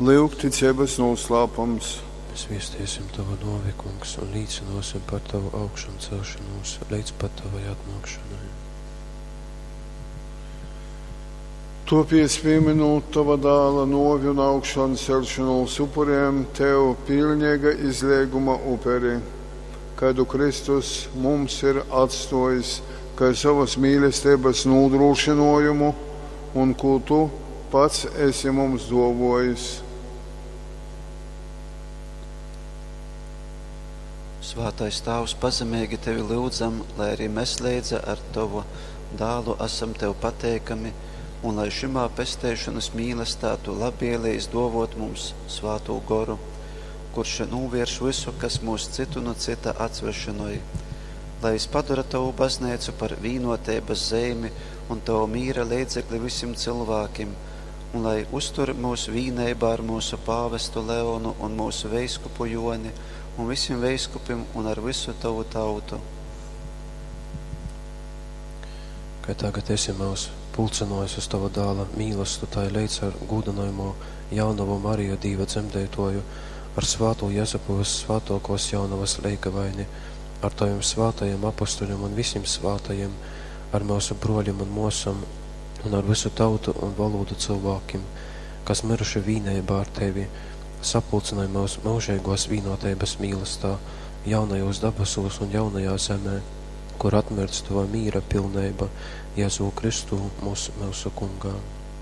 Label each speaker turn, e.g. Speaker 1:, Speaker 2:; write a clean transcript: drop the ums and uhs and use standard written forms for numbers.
Speaker 1: Lyugticeibys nūslāpums.
Speaker 2: Mēs viestiesim Tavu nōvi, Kungs, un līcynōsim par Tavu augšamceļšonūs leidz pat Tavai atnōkšonai.
Speaker 1: Tuopiec, pīmynūt Tova Dāla nuovi un augšanceļšonūs, upurejam Tev piļneiga izleiguma uperi, kaidu Kristus mums ir atstuojis kai sovys mīlesteibys nūdrūšynuojumu un kū Tu pats esi mums duovuojis.
Speaker 3: Svātais Tāvs, pazemeigi Tevi lyudzam, lai arī mes leidza ar Tovu Dālu asam Tev pateikami un lai šymā pesteišonas mīlestā Tu labvielejis duovōt mums Svātū Goru, kurš nūvierš vysu, kas myus cytu nu cyta atsvešynoj. Lai jys padora Tovu Bazneicu par vīnuoteibas zeimi un Tova mīra leidzekli vysim cylvākim, un lai uztur myus vīneibā ar myusu pāvestu Leonu un myusu veiskupu Juoni un vysim veiskupim un ar vysu Tovu tautu.
Speaker 2: Kai tagad esi myus pulcynōjis uz Tova Dāla mīlastu, tai leidz ar gūdynojamū Jaunovu Mariju Dīva dzemdeitōju, ar svātū Jezupu vyssvātōkōs Jaunovas leigavaini, ar Tovim svātajim apostolim un vysim svātajim, ar myusu brōlim un mōsom un ar vysu tautu un volūdu cylvākim, kas myruši vīneibā ar Tevi, sapulcynoj myus myužeigōs vīnōteibas mīlastā, jaunajūs dabasūs un jaunajā zemē, kur atmirdz Tova mīra pilneiba, Jezū Kristū, mūs, myusu Kungā.